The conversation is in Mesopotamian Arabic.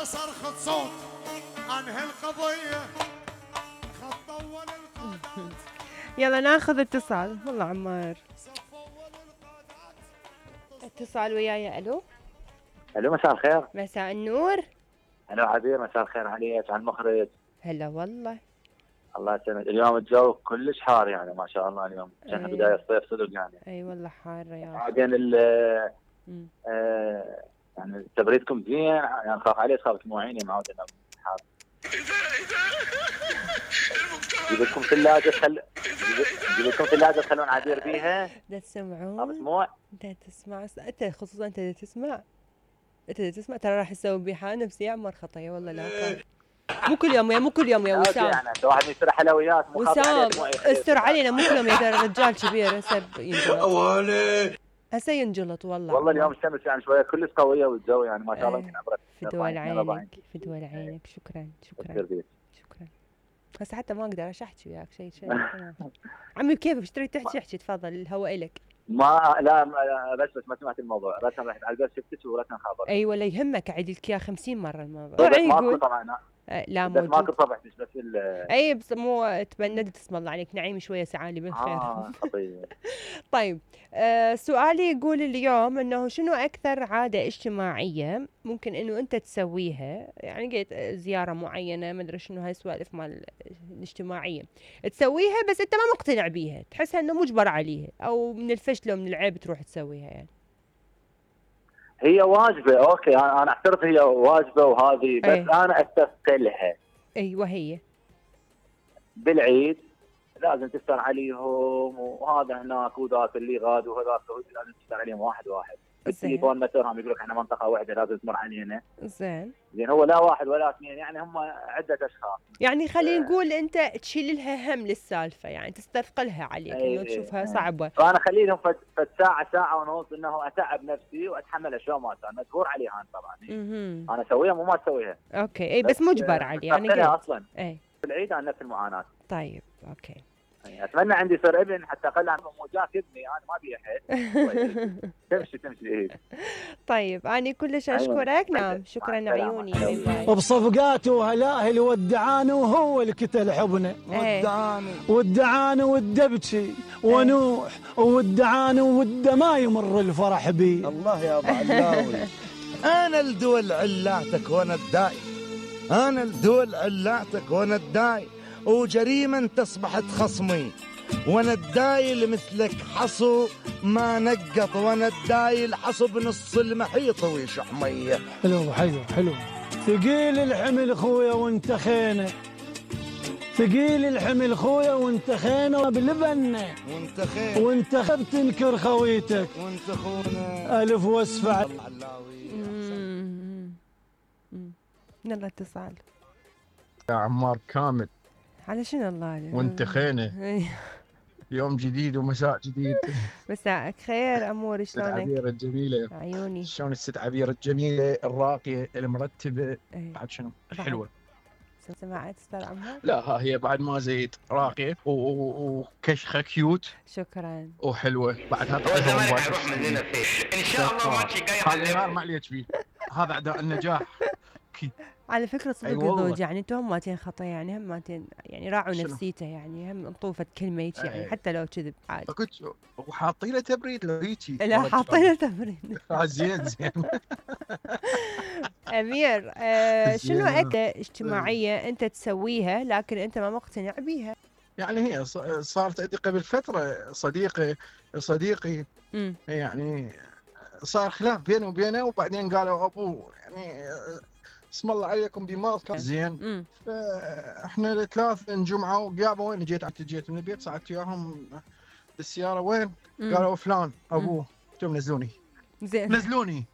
صرخة صوت عن هالقضية خط أول القادات. يلا ناخذ اتصال. والله عمار اتصال وياي. الو الو مساء الخير. مساء النور. الو عبير مساء الخير عليك على المخرج. هلا والله. الله يسلمك. اليوم الجو كلش حار يعني ما شاء الله اليوم كان بداية الصيف صدق يعني. اي والله حار يا بعدين يعني تبريدكم زين يعني خاف عليه خاف تموعيني معود انه حار. جيب لكم ثلاجة جيب لكم ثلاجة تخلون عبير بيها. دا تسمعون؟ مسموع؟ دا تسمع انت خصوصا انت دا تسمع. ترى راح تسوي بي حالة نفسية يا عمر خطية والله لا كان. مو كل يوم يا وسام. يعني انت واحد يشتري حلويات وسام استر علينا مو كل يوم يا ترى رجال كبير هسه ينجلط. هسه ينجلط والله اليوم الشمس يعني شوية كلش قوية والجو يعني ما شاء الله يمكن عبرت. فدوى لعينك فدوى لعينك. شكرا. هسه حتى ما اقدر احكي وياك شيء عمي كيف اشتري تحكي تفضل الهواء الك. لا بس ما سمعت الموضوع. رسم رحت على البيت شفتك ورسم خابر. اي ولا يهمك اعيد لك اياه 50 مره الموضوع. ماكو طبعا. لا موجود. ماكو صبحتش بس اي بس مو تبندت اسم الله عليك نعيم شويه سعالي بالخير. خطير. طيب سؤالي يقول اليوم انه شنو اكثر عاده اجتماعيه ممكن انه انت تسويها يعني قلت زياره معينه ما ادري شنو هاي السوالف مال الاجتماعيه تسويها بس انت ما مقتنع بيها تحسها انه مجبر عليها او من الفشل ومن العيب تروح تسويها يعني. هي واجبه اوكي انا اعترف هي واجبه وهذه بس انا استثقلها. ايوه هي بالعيد لازم تستر عليهم وهذا هناك وذاك اللي غاد وهذاك لازم تستر عليهم واحد بالتليفون مثلا يقول لك احنا منطقه واحده لازم تمر علينا. زين هو لا واحد ولا اثنين يعني هم عده اشخاص. يعني خلينا نقول انت تشيل لها هم للسالفه يعني تستثقلها عليك انه تشوفها صعبه. فانا اخلي لهم فد ساعه ونص انه اتعب نفسي واتحمل اشياء ما كان مجبور عليها أنا طبعا. انا اسويها مو ما اسويها. اوكي اي بس مجبر علي يعني اصلا. اي بالعيد عن نفس المعاناه. طيب اوكي. اتمنى عندي صير ابن حتى اقل عن مو جاك ابني انا ما ابي احد. تمشي. طيب انا كلش اشكرك. نعم شكرا عيوني. وبصفقاته وهلاهل ودعانه وهو اللي كتل حبنا. ودعانه والدبشي ونوح ودعانه وده ما يمر الفرح بي. الله يا ابو علاوي. انا الدول علاتك وانا الداي. انا الدول علاتك وانا الداي وجريمة تصبحت خصمي وانا الداي مثلك حصو ما نقط وانا الداي الحصو بنص المحيط ويشح ميه. حلو ثقيل الحمل خويا وانت خينه. ثقيل الحمل خويا وانت خينه بلبنه وانت بتنكر خويتك وانت خونا الف واسفع. يلا اتصال يا عمار كامل. على شنو الله وانت خينه. يوم جديد ومساء جديد. مساءك خير امور شلونك؟ عبير الجميله عيوني. شلون الست عبير الجميله الراقيه المرتبه. بعد شنو الحلوه. سمعت استاذ عمار؟ لا هي بعد ما زيد راقيه وكشخه كيوت. شكرا. وحلوه بعدها. والزمالك حيروح مننا فيش ان شاء الله ماتش جاي. هذا ما عليك فيه. هذا اعداء النجاح. على فكرة صدق الزوج يعني انتم هماتين خطا يعني هماتين يعني راعوا نفسيته يعني هم انطوفت كلمة هيك يعني حتى لو كذب عادي. قلت وحاطين له تبريد لو هيجي. لا حاطين له تبريد. زين أمير شنو أكثر اجتماعية أنت تسويها لكن أنت ما مقتنع بيها؟ يعني هي صارت عندي قبل فترة صديقي يعني صار خلاف بينه وبينه وبعدين قالوا أبوه يعني اسم الله عليكم بمال زين. فاحنا الثلاث انجمعوا وقابوا وين جيت من البيت ساعدت وياهم بالسياره وين؟ قالوا فلان ابوه قلت لهم نزلوني. زين نزلوني